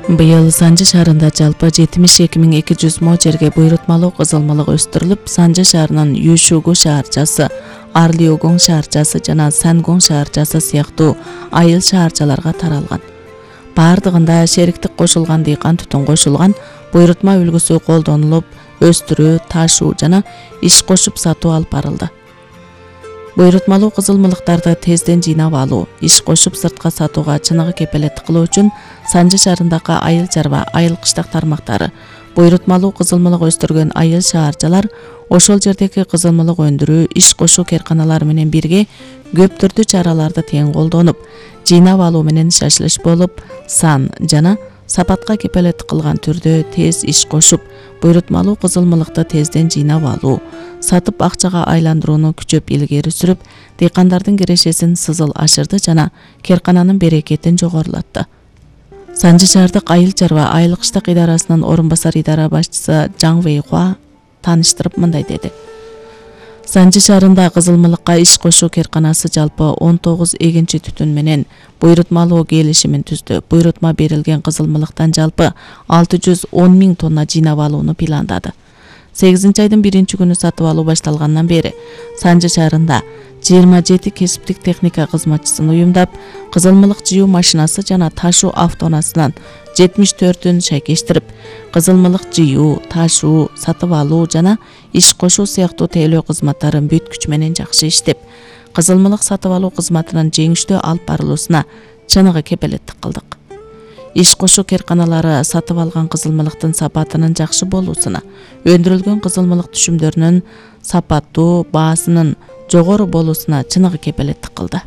Быйыл Санжы шаарында жалпы 72.200 мо жерге буйрутмалуу кызылмалык өстүрүлүп, Санжы шаарынын Юшугу шаарчасы, Арлиогоң шаарчасы жана Сангоң шаарчасы сыяктуу айыл шаарчаларга таралган. Бардыгында шериктик кошулган дыйкан түтүн кошулган, буйрутма үлгүсү колдонулуп, өстүрүү, ташуу жана иш кошуп сатуу алып барылды. Буйрутмалуу кызылмалыктарды тезден жыйнап алуу, иш кошуп сыртка сатууга чыныгы кепелеттик кылуу үчүн Санжы шаарындагы айыл чарба, айыл кыштак тармактары, буйрутмалуу кызылмалык өстүргөн айыл шаарчалар ошол жердеги кызылмалык өндүрүү, иш кошуу керканалары менен бирге көп түрдүү чараларды тең колдонуп, жыйнап алуу менен шашылыш болуп, сан жана сапатка кепелеттик кылган түрдө тез иш кошуп, буйрутмалуу кызылмалыкты тезден жыйнап алуу, сатып акчага айландырууну күчөп илгери сүрүп, дыйкандардын кирешесин сызыл ашырды жана керкананын берекетин жогорулатты. Санжы шаардык айыл чарба, айыл кыштак идарасынын орун басар идара башчысы Жаң Вэйхуа тааныштырып мындай деди. Санжы шаарында кызылмалыкка иш кошуу керканасы жалпы 19 эгинчи түтүн менен буйрутмалуу келишимин түздү. Буйрутма берилген кызылмалыктан жалпы 610.000 тонна жыйнап алууну пландады. 8-айдын 1-күнү сатып алуу башталгандан бери Санжы шаарында 27 кесиптик техника кызматчысын уюмдап, кызылмалык жыюу машинасы жана ташуу автоунаасынан 74-ün шайкештирип, кызылмалык жыюу, ташуу, сатып алуу жана иш кошуу сыяктуу тейлөө кызматтарын бүт күч менен жакшы иштеп, кызылмалык сатып алуу кызматынын жеңиштүү алып барылуусуна чыныгы кепелеттик кылдык. Иш кошуу керканалары сатып алган кызылмалыктын сапатынын жакшы болуусуна, өндүрүлгөн кызылмалык түшүмдөрүнүн сапаттуу, баасынын жогору болуусуна чыныгы кепелеттик кылды.